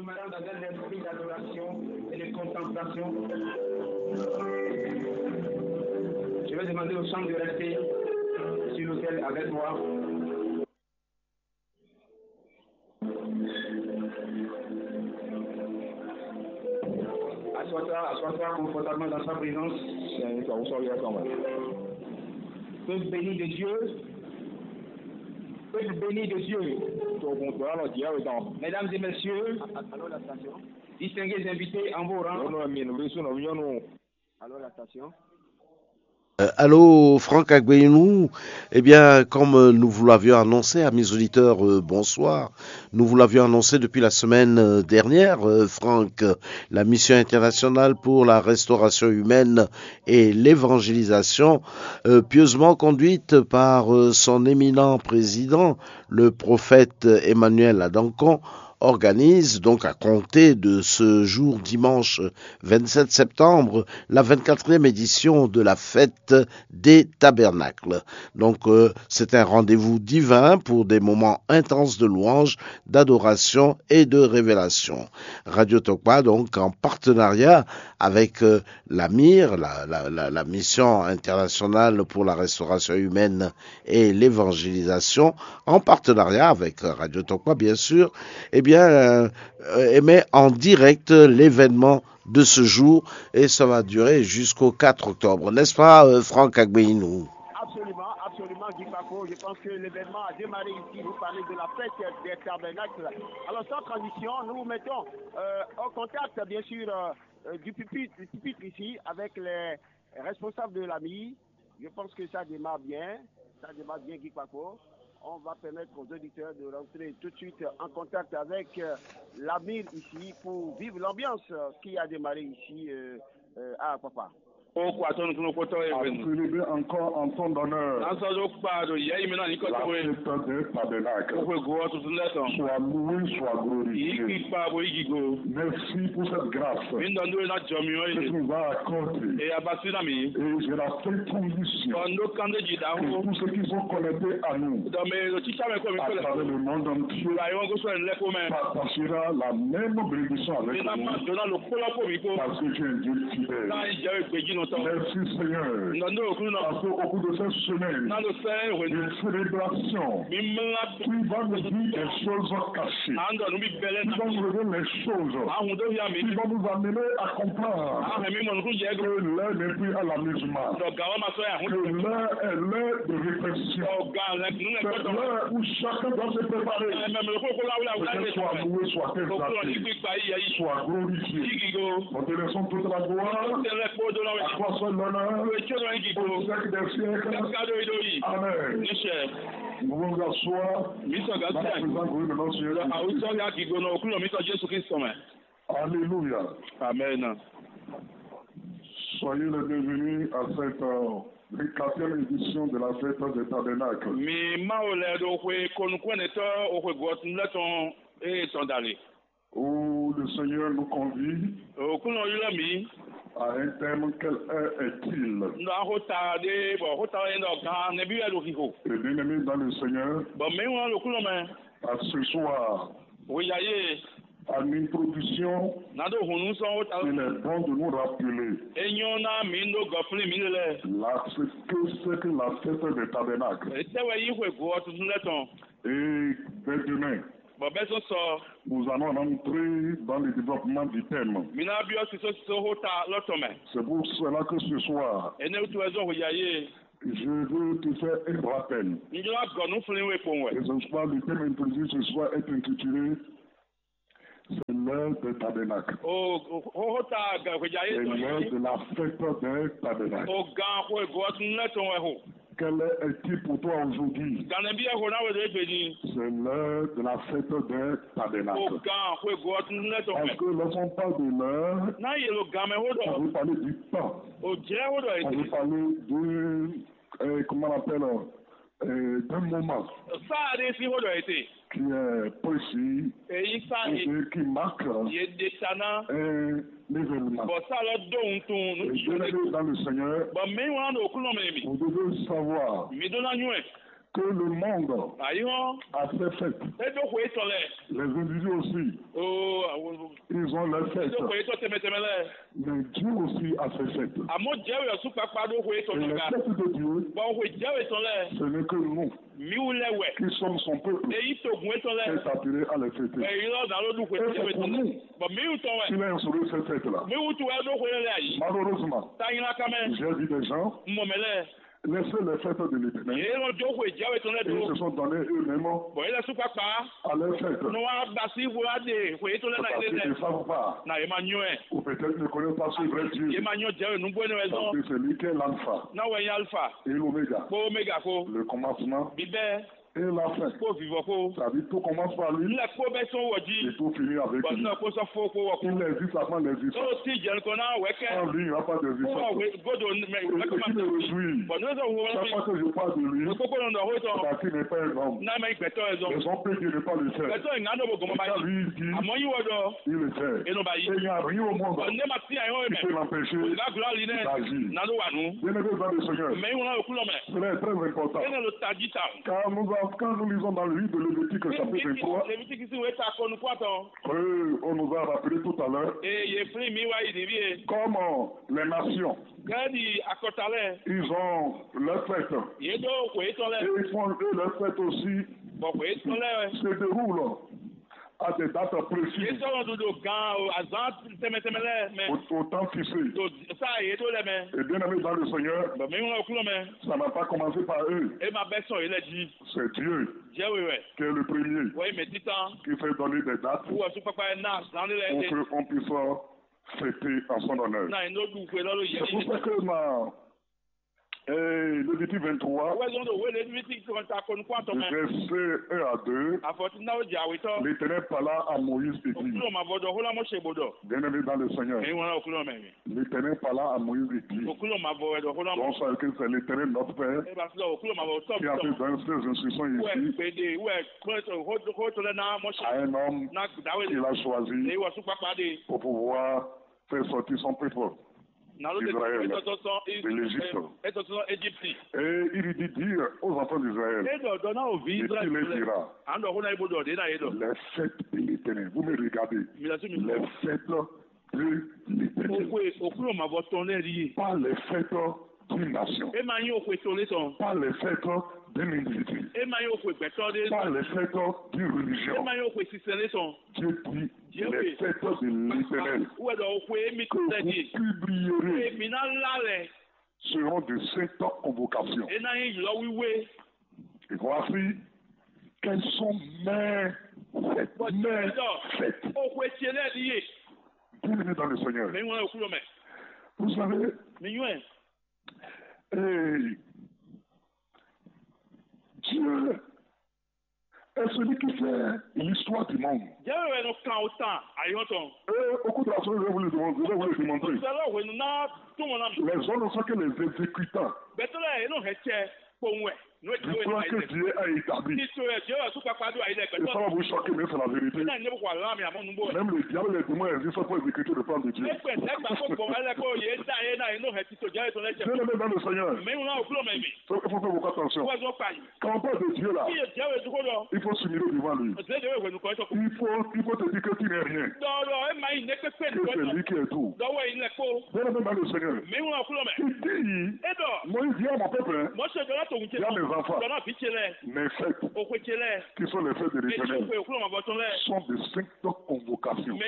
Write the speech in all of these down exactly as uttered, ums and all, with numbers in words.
Madame, dans un esprit d'adoration et de contemplation, je vais demander aux chants de rester sur l'autel avec moi. Assois-toi, assois-toi confortablement dans sa présence. Peuple béni de Dieu, peuple béni de Dieu. Mesdames et messieurs, distingués invités en vos rangs. Alors, la station. Euh, allô, Franck Agbeyinou. Eh bien, comme euh, nous vous l'avions annoncé, amis auditeurs, euh, bonsoir. Nous vous l'avions annoncé depuis la semaine euh, dernière, euh, Franck, euh, la mission internationale pour la restauration humaine et l'évangélisation, euh, pieusement conduite par euh, son éminent président, le prophète Emmanuel Adankon, organise donc à compter de ce jour dimanche vingt-sept septembre la vingt-quatrième édition de la fête des tabernacles. Donc euh, c'est un rendez-vous divin pour des moments intenses de louange, d'adoration et de révélation. Radio Tokpa, donc en partenariat avec euh, la MIR, la, la- la- la Mission internationale pour la restauration humaine et l'évangélisation, en partenariat avec Radio Tokpa, bien sûr, eh bien, euh, euh, émet en direct l'événement de ce jour et ça va durer jusqu'au quatre octobre. N'est-ce pas, euh, Franck Agbeyinou ? Absolument, absolument, Guy Paco. Je pense que l'événement a démarré ici. Vous parlez de la fête des tabernacles. Alors, sans transition, nous vous mettons euh, en contact, bien sûr, euh, euh, du pupitre, du pupitre ici avec les responsables de la MIR. Je pense que ça démarre bien. Ça démarre bien, Guy Paco. On va permettre aux auditeurs de rentrer tout de suite en contact avec euh, la MIR ici pour vivre l'ambiance euh, qui a démarré ici euh, euh, à Papa. Ó kó atɔ́ nukúnnú kpótɔ́ é hwenu. Célébrer encore en ton honneur. Ná sɔ́ dó kpa ɖo yɛ yi mɛ ná nyǐkɔ La towe. Fête des tabernacles. Ó hwe go ɔ́ tuntun lɛ́ɛ tɔn. Sois loué, sois glorifié. Yí kpikpa bo yí gigo. Merci pour cette grâce. Mi ɖɔ nú we ná jɔ mi ɔ́ Que yé. Tu nous as accordée. E a ba sí ná mi. Et j'ai la ferme conviction Bɔ n ɖó kánɖéji que ɖaxó. Tous ceux qui sont connectés à nous Ɖɔ mɛ e ɖo títá mɛ kpó mi à kpó lɛ. Travers le monde entier Ba yi wɔn gosɔ ɛn lɛ kpó mɛ. Partagera la même bénédiction avec nous. Mi ná ma dó ná lo kpó lɔ kpó mi kpó. Parce que tu es un Dieu fidèle. Ná yi jɛ we gbèjì nɔ tɔn. Merci Seigneur. Nɔ ní òkú nɔ. Parce qu'au cours de cette semaine, Ná lo sɛ hwenu. De célébration, mi mla. Tu vas nous dire des choses cachées. À ń dọ̀ níbi bẹ́lẹ́. Tu vas nous révéler les choses. À ń hun dó ya mi. Qui vont nous amener à comprendre. À hẹ̀mí mọ̀ nukú jẹ́. Que l'heure n'est plus à l'amusement. Dọ̀ gà wọ́n ma sọ yà hún. Que l'heure est l'heure de réflexion. Dọ̀ gà rẹ̀ nù rẹ̀ C'est gbọ́dọ̀. L'heure où chacun doit se préparer. Ẹ mẹ mẹ kó kó láwùlà wùlà Que rẹ̀. Soit loué, soit Òkúrò ní exalté, gbígba yíyẹ yìí. Soit glorifié. Yígi go. Nous te laissons toute la gloire. Tẹ̀lé kpó dó náà. À toi seul l'honneur. Ìwé tí ó lọ yígi go. Au siècle des siècles. Kádó ìdó yìí. Amen. Níṣẹ́. Nous pouvons nous asseoir. Mi sọ gàdúrà. Dans la présence glorieuse de notre Seigneur Jésus-Christ. Àwùjọ ya gígbóná òkúrò mi sọ Jésù Kristu mẹ́. Alléluia. Amen. Soyez les bienvenus à cette euh, vingt-quatrième édition de la fête des tabernacles. Mi Mawu lɛ ɖo xwe konukúnɛtɔ́ o xwe gɔtun lɛ tɔn eye tɔn dali. Où le Seigneur nous convie Òkúnɔ ylɔ́ mi. À un thème, quelle heure est-il? Nɔ axota ɖe bɔ xota ɔ́ nyí ɖɔ gan nɛbí wɛ ɖo xixo. Et bien-aimés dans le Seigneur, Bɔ mɛ̌ wlán ɖo kúnɔ mɛ. À ce soir, Hweya yé. À l'introduction, Nado hunu sɔn xota. Il est bon de nous rappeler. E nyɔ ná mi ɖo gɔflin mi lɛ. La, c'est que c'est que la fête des tabernacles. Etɛ wɛ yí xwe go ɔtuntun lɛ tɔn. Et dès demain, Bɔ bɛ sɔn sɔ. Nous allons rentrer dans le développement du thème. Mi ná byɔ́ sísó sísó xota lɔ tɔn mɛ. C'est pour cela que ce soir, Enɛ wutu wɛ zɔn hweya yé. Je veux te faire un rappel. N jló agɔ nú flin we kpowun wɛ. Et ce soir, le thème introduit ce soir est intitulé C'est l'heure des tabernacles. O xota gɛhwejá yé C'est tɔn l'heure yìí. De la fête des tabernacles. O gan xwe gɔtun lɛ tɔn wɛ ho. Quelle heure est-il pour toi aujourd'hui? Ganɛ bi yɛ ho na wɛ do egbe ni. C'est l'heure de la fête des tabernacles. O gan xwe gɔtun lɛ tɔn Parce wɛ. Que lorsqu'on parle de l'heure, N'a yelo gan mɛ ho on dɔ. Veut parler du temps. O jɛ ho dɔ On veut ete. Parler de, euh, comment on appelle, euh, d'un moment. Sa de si ho dɔ ete. Qui est précis. Eyi sa e. Qui marque. Ye de tana. Un événement. Bɔ sa lɔ do ŋutun. Et bien-aimés dans le Seigneur, bɔ mi wa do kunɔ mɛ mi. Vous devez savoir. Mi do na nyuɛ. que le monde a ses fêtes. É ɖó xwe étɔn lɛ. Les individus aussi, ils ont leurs fêtes. É ɖó xwe étɔn tɛmɛ tɛmɛ lɛ. Mais Dieu aussi a ses fêtes. Àmọ́ Jɛwé ɔ́ sú kpakpá ɖó xwe étɔn lɛ. Et les fêtes de Dieu, bɔn xwe Jɛwé tɔn lɛ, ce n'est que nous, mǐ wú lɛ wɛ. Qui sommes son peuple, é yí togun étɔn lɛ, est appelé à les fêter. Bɔ é ylɔ́ ná ló ɖu xwe Jɛwé tɔn lɛ. Bɔ mǐ wú tɔn wɛ. Il a instauré ces fêtes-là. Mǐ wú tu wɛ ɖó xwe lɛ ayǐ. Malheureusement, ta nyla ká mɛ. J'ai vu des gens, mɔ mɛ lɛ, laisser les fêtes de l'Éternel. Yě nɔ jó xwe Jɛwé tɔn lɛ ɖó. Et ils se sont donnés eux-mêmes, bɔ é lɛ sú kpakpá, à leurs fêtes. Nɔ wá ba sí bó wá ɖe xwe yětɔn lɛ ná yě lɛ. Parce qu'ils ne savent pas. Na yě ma nyɔ́ ɛ. Ou peut-être ne connaissent pas ce vrai Dieu. Yě ma nyɔ́ Jɛwé nǔgbó énɛ́ wɛ zɔn. Parce que c'est lui qui est l'alpha. Ná wɛ nyí alifa. Et l'oméga. Kpó oméga kó. Le commencement. Bíbɛ́. Et la fin. Kpó vivɔ kó. C'est-à-dire tout commence par lui. Lɛ kpó bɛ sɔn wɔ jí. Et tout finit avec lui. Bɔn nɔ kó sɔ fó kó wɔ kó. Il existe avant l'existence. Ó ti jɛ nukɔn ná wɛ kɛ. Sans lui, il n'y a pas d'existence. Kó wɔ godo mɛ. Et, et qui me réjouit, bɔn nɔ sɔ wɔ chaque fois que je parle de lui, kókó nɔ nɔ hó tɔn. Parce qu'il n'est pas un homme. N'a mɛ gbɛtɔ yɛ zɔn. Les hommes peuvent dire ne pas le faire. Gbɛtɔ yɛ ŋa nɔ bo gɔmɔ ba yi. Car lui, il dit, àmọ́ yí wɔ dɔ. Il le fait. E nɔ ba yi. Et il n'y a rien au monde, bɔn ne ma ti ayɔ yɛ qui mɛ, peut l'empêcher, o ga gulɔ ali nɛ, d'agir. Nanu wa nu. Bien-aimés dans le Seigneur, mɛ yi wọn lɔ kulɔ mɛ. Cela est très important. E nɔ lo taji ta. Car nous avons, quand nous lisons dans le livre de Lévitique, chapitre vingt-trois, Levitikisi wɛ ta kɔnu kpatɔ. Euh, on nous a rappelé tout à l'heure, e ye fli mi wa yi divi e, comme, euh, les nations, gɛdi akɔta lɛ, ils ont leur fête. Ye do ko etɔn lɛ. Et ils font, eux, leur fête aussi. Bɔn ko etɔn lɛ, se déroule à des dates précises. Ye sɔrɔ do do gan o azan tɛmɛ tɛmɛ lɛ mɛ. Au, au temps fixé. To sa ye do lɛ mɛ. Et bien-aimés dans le Seigneur, bɔn mi ŋlɔ kulɔ mɛ. Ça n'a pas commencé par eux. E ma bɛ sɔn ye lɛ ji. C'est Dieu, Jɛwe wɛ. Qui est le premier, wɛ mɛ titan, qui fait donner des dates wɔ su kpakpa na zan de lɛ pour que on puisse fêter en son honneur. Na eno du xwe lɔ lo yɛ. C'est pour ça que ma, eh, Lévitique vingt-trois, wɛ zɔn do wɛ Lévitique ta kɔnu kpatɔ mɛ. Verset un à deux, afɔti na o jɛ awetɔ. L'Éternel parla à Moïse et dit, kulɔ ma vɔ dɔ hola mɔ se bo dɔ. Bien-aimés dans le Seigneur, mi ŋlɔ kulɔ mɛ mi. L'Éternel parla à Moïse et dit, okulɔ ma vɔ wɛ dɔ hola mɔ. Bonsoir, que c'est l'Éternel notre Père, e ba filɛ okulɔ ma vɔ tɔ qui a fait donner ces instructions ici, wɛ gbede wɛ kpɛ to ho to lɛ na mɔ se, à un homme na dawe qu'il a choisi, e wɔ su kpakpa de, pour pouvoir faire sortir son peuple d'Israël, de l'Égypte. Etɔtɔ Egypte. Et il dit, dire aux enfants d'Israël, e dɔ dɔ na o vi Israël, et tu les diras, an dɔ ho na ibo dɔ de na ye dɔ. Les fêtes de l'Éternel. Vous me regardez. Mi la su mi. Les fêtes de l'Éternel. Okwe okulɔ ma vɔ tɔn lɛ di ye. Pas les fêtes d'une nation. E ma nyi okwe to le tɔn. Pas les fêtes d'un individu. E ma nyi okwe gbɛtɔ de. Pas les fêtes d'une religion. E ma nyi okwe sisɛ le tɔn. Dieu dit, les fêtes de l'Éternel, wɛ dɔ okwe emi to lɛ di ye, que vous publierez, emi na la lɛ, seront de saintes convocations. E na nyi ylɔ wiwe. Et voici qu'elles sont mes fêtes, mes fêtes. Okwe tiɛ lɛ di ye. Bien-aimés dans le Seigneur, mi ŋlɔ okulɔ mɛ. Vous savez, mi nyɔɛ. Et Dieu est celui qui fait l'histoire du monde. Jɛwé wɛ nɔ kan o tan ayɔ tɔn. Et au cours de la semaine, je vais vous le démontrer, je vais vous le démontrer. Sɛlɛ wenu na tún wọn na mi. Les hommes ne sont que les exécutants. Bɛtɛlɛ yɛ nɔ hɛ cɛ kpowun wɛ. Du plan que Dieu a établi. Tito yɛ Jɛwé wɛ su kpakpa do ayi lɛ. Et ça va vous choquer, mais c'est la vérité. Ena ne ko ala mi amɔ nugbo. Même le diable et les démons existent pour exécuter le plan de Dieu. Ekpe ne gba ko gbɔn wɛ lɛ ko ye da ye na ye nɔ hɛ tito Jɛwé tɔn lɛ cɛ. Bien-aimés dans le Seigneur, mais on a au plan mɛ mi. Il faut faire beaucoup attention. Wɛ zɔ kpa yi. Quand on parle de Dieu là, il faut s'humilier devant lui. Il faut, il faut te dire que tu n'es rien. Que c'est lui qui est tout. Bien-aimé dans le Seigneur, il dit, Moïse, dis à mon peuple, hein, dis à mes enfants, mes fêtes, qui sont les fêtes de l'Éternel, sont de saintes convocations.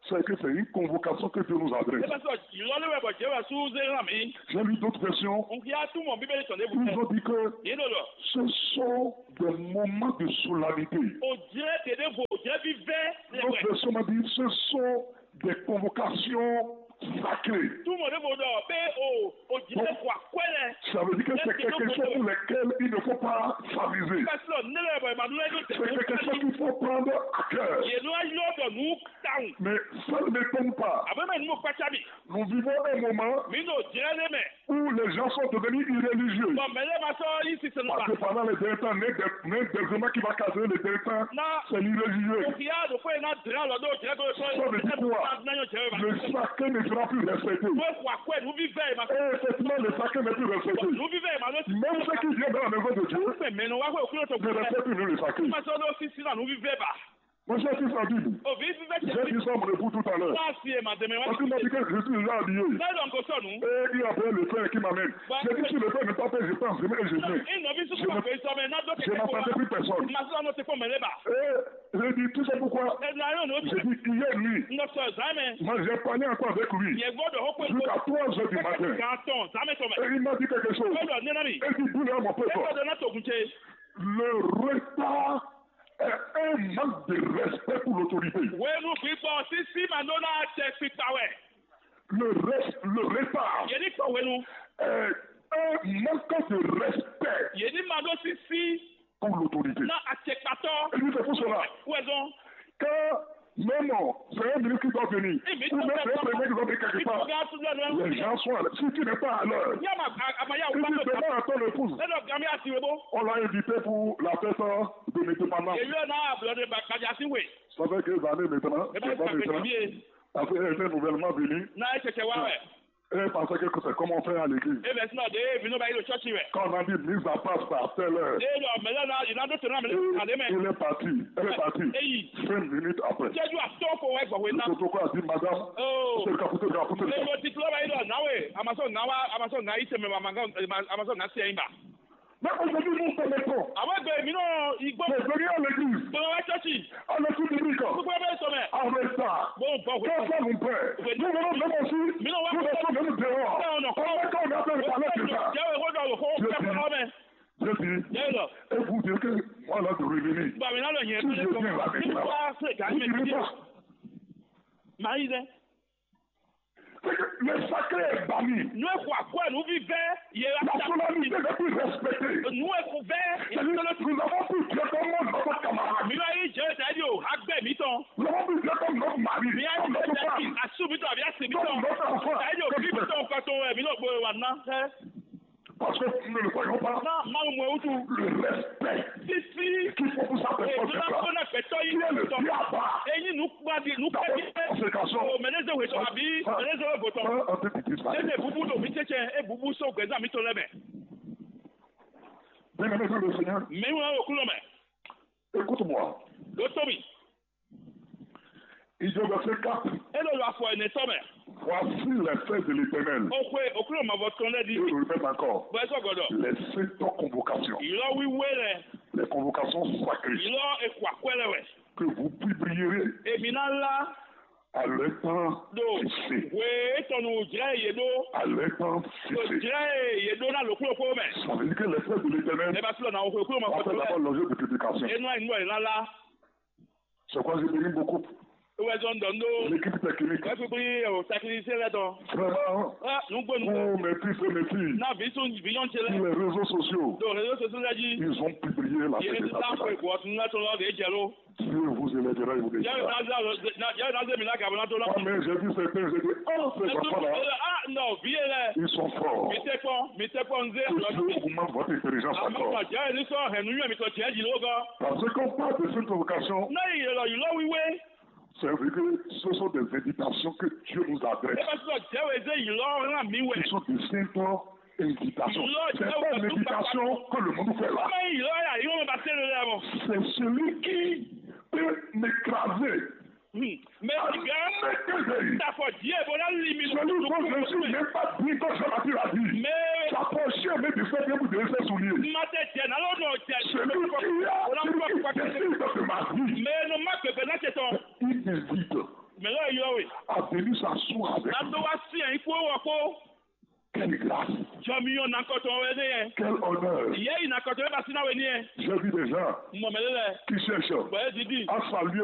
C'est que c'est une convocation que Dieu nous adresse. J'ai lu d'autres versions. Ils ont dit que ce sont des moments de solennité. D'autres versions m'ont dit ce sont des convocations sacrées. Donc, ça veut dire que c'est quelque chose pour lequel il ne faut pas s'amuser. C'est quelque chose qu'il faut prendre à cœur. Mais ça ne m'étonne pas. Abe mɛ numu kpatsa mi. Nous vivons un moment. Mi ɖo jɛ ɖe mɛ. Où les gens sont devenus irréligieux. Bɔn mɛ lɛ ma sɔ yi sisan. Parce que pendant les derniers temps, l'un des, l'un des éléments qui va casser les derniers temps, c'est l'irréligion. Òkè yá ɖo fún ẹ̀ ná dìrá lọ dó jẹ́ kó sọ. Ça veut dire quoi? Le sacré ne sera plus respecté. Wọ́n kó àkó ẹ̀ nú bí vẹ́ ẹ̀ ma. Et effectivement, le sacré n'est plus respecté. Nú bí vẹ́ ẹ̀ ma ló ti. Même ceux qui viennent dans la maison de Dieu ne respectent plus le sacré. Ma sọ ló fi sí náà nú bí vẹ́ ẹ̀ bá. Mon cher fils en Bible, j'ai dit ça à mon époux tout à l'heure. Parce qu'il m'a dit que je suis déjà habillé. Et il y a le frère qui m'amène. J'ai dit, si le frère n'est pas fait, je pense, je mets et je viens. Je n'attendais plus personne. Et j'ai dit, tu sais pourquoi? J'ai dit, hier nuit, moi j'ai parlé encore avec lui. Jusqu'à trois heures du matin. Et il m'a dit quelque chose. Il dit, dis-le à mon peuple. Le retard est un manque de respect pour l'autorité. Wenu gbígbɔ sísí ma ɖó ná jɛ kpikpa wɛ. Le reste, le retard Yě ní kpɔ wenu. Est un manque de respect Yě ní ma ɖó sísí pour l'autorité. Ná acɛkpatɔ. Et c'est pour cela. Wɛzɔn. Quand même, c'est un ministre qui doit venir. Ou même c'est un premier qui doit venir quelque part. Les gens sont là. Si tu n'es pas à l'heure, si tu demandes à ton épouse, on l'a invité pour la fête de l'indépendance. Èyí ɔ̀nà àbúrò ní gbàgbà sí wè. Ça fait quelques années maintenant. Ẹ bá yẹ kàkẹ́ kìí yé. Ça fait un nouvellement venu. Náà ẹ ṣẹ̀ṣẹ̀ wá wẹ̀. Et parce que c'est comme on fait à l'église. Ebe sinɔ de ebi n'o ba yi ɖo tsɔtsi wɛ. Quand on a dit mise à part à telle heure. Eye ɖɔ mɛ lɛ na yi na ɖo to na mɛ lɛ ade mɛ. Il est parti. Elle est partie. Eyi. Cinq minutes après. Cɛju atɔ ko wɛ gbɔ wɛ na. Le protocole a dit, madame, oh, c'est le capitaine, le capitaine. Eye ti klo ba yi ɖɔ nawe amasɔ nawa amasɔ na yi tɛmɛ ma ma amasɔ na se yi ba. Mais aujourd'hui, nous permettons. Àwọn ẹgbẹ́ mi náà igbó. De venir à l'église. Gbọ́dọ̀ wá ṣọ́ọ̀ṣì. À l'étude biblique. Gbogbo ẹgbẹ́ sọ mẹ́. En retard. Mo ń bọ̀ wẹ̀. Quand ça nous plaît, nous venons même aussi. Mi náà wá. Nous restons même dehors. Bẹ́ẹ̀ ọ̀nà. On met quand on a fait le palais de ça. Jẹ́ ìwé dọ̀ wò kó fẹ́ fọlọ́ mẹ́. Je dis, je dis, et vous dire que moi là de revenir. Bàbá mi náà lọ yẹn. Si je viens là maintenant, vous direz pas. Màá yí dẹ́. Le sacré est banni. Nú e xɔ akwɛ́ nú vívɛ́ yě wá. La solennité n'est plus respectée. Nú e xɔ vɛ́. C'est-à-dire, nous avons pris Dieu comme notre camarade. Mi wá yí jẹ́ ìdájí o agbẹ́ mi tán. Nous avons pris Dieu comme notre mari, mi wá yí jẹ́ ìdájí asú mi tán àbí así mi tán. Comme notre enfant. Ìdájí o bí mi tán nǹkan tó ẹ̀ mi náà gbé wa ná. Parce que nous ne le voyons pas. Ná máa mú ẹ wútu. Le respect. Títí. Qu'il faut pour sa personne. Èmi náà kó náà gbẹ̀tọ́ yìí. Qui est le diable? Eyín nù kpadi nù kpadi. Conséquence. O mɛnɛzɛ wetɔ àbí mɛnɛzɛ wetɔ. Ese bubu ɖo mi tsɛtsɛ e bubu sɔn gbɛzán mitɔn lɛ mɛ. Bien-aimé dans le Seigneur. Mi wɔ okúlɔ mɛ. Écoute-moi. Ɖo tó mi. Il dit au verset quatre. E ɖo ɖo afɔ ɛnɛ tɔ mɛ. Voici les faits de l'Éternel. O xwe okúlɔ mavɔ tɔn lɛ di. Et je le répète encore. Bɔ ɛ sɔ gɔdɔ. Les sept convocations. Ylɔ wiwe lɛ. Les convocations sacrées. Ylɔ ekɔ akwɛ lɛ wɛ. Que vous publierez. Èmi ná lá. À leur temps fixé. Hwe étɔn nu jlɛ yě ɖó. À leur temps fixé. Jlɛ yě ɖó ná lǒkúlòkúlò mɛ. Ça veut dire que les faits de l'Éternel. Ẹ bá sílẹ̀ náà o xwe kúlò mọ́. Vont être d'abord l'objet de publication. Enu àyìnbó yìí ná lá. C'est quoi, j'ai béni beaucoup. Wɛzɔn dɔn do. L'équipe technique. Wɛfifi o technicien lɛ dɔn. Vraiment, ah, nugbo nugbo. Pour mes fils et mes filles. Na visu vinyɔn cɛ lɛ. Sur les réseaux sociaux. Donc réseaux sociaux lɛ ji. Ils ont publié la. Yɛ ta ko bɔ tun na tɔn lɔ de jɛ lo. Dieu vous élèvera et vous bénira. Yɛ na za na yɛ na ze mi la gabo na to la. Moi-même, j'ai vu certains, j'ai dit, oh, ces enfants-là. Ah non, vie lɛ. Ils sont forts. Mi tɛ kpɔn, mi tɛ kpɔn nze. Que Dieu augmente votre intelligence encore. Jɛ ni sɔ hɛn nu yɛ mi tɔ jɛ ji lo gɔ. Parce qu'on parle de cette vocation. N'a yi yɛlɛ yi lɔ wiwe. C'est vrai que ce sont des invitations que Dieu nous adresse. Eba sɔ jɛ wɛ ze yi lɔ ŋa mi wɛ. Ce sont des simples invitations. C'est pas une invitation que le monde fait là. Ɔmɛ yi lɔ ya yi wɔn ba se le lɛ mɔ. C'est celui qui peut m'écraser. Mɛ ìgbà tafɔ díẹ̀ bó ná lì mí. Celui dont je ne suis même pas digne, comme Jean-Baptiste l'a dit. S'approcher même du feu, même de ses souliers. Ma tɛ jɛ nalo nɔ jɛ. Celui qui a celui qui décide de ma vie. Mɛ nɔ ma gbɛgbɛ n'a tɛ tɔn. Il décide. Mɛ lɔ yɔ we. À venir s'asseoir avec. N'a dó wá sí ẹ̀yin kó wọ kó. Quelle grâce. Jɔmiyɔ nakɔtɔn wɛ ne yɛ. Quel honneur. Yɛ yi nakɔtɔn wɛ ba sina wɛ ni yɛ. J'ai vu des gens. Mɔ mɛ lɛ. Qui cherchent. Bɔn e didi. À saluer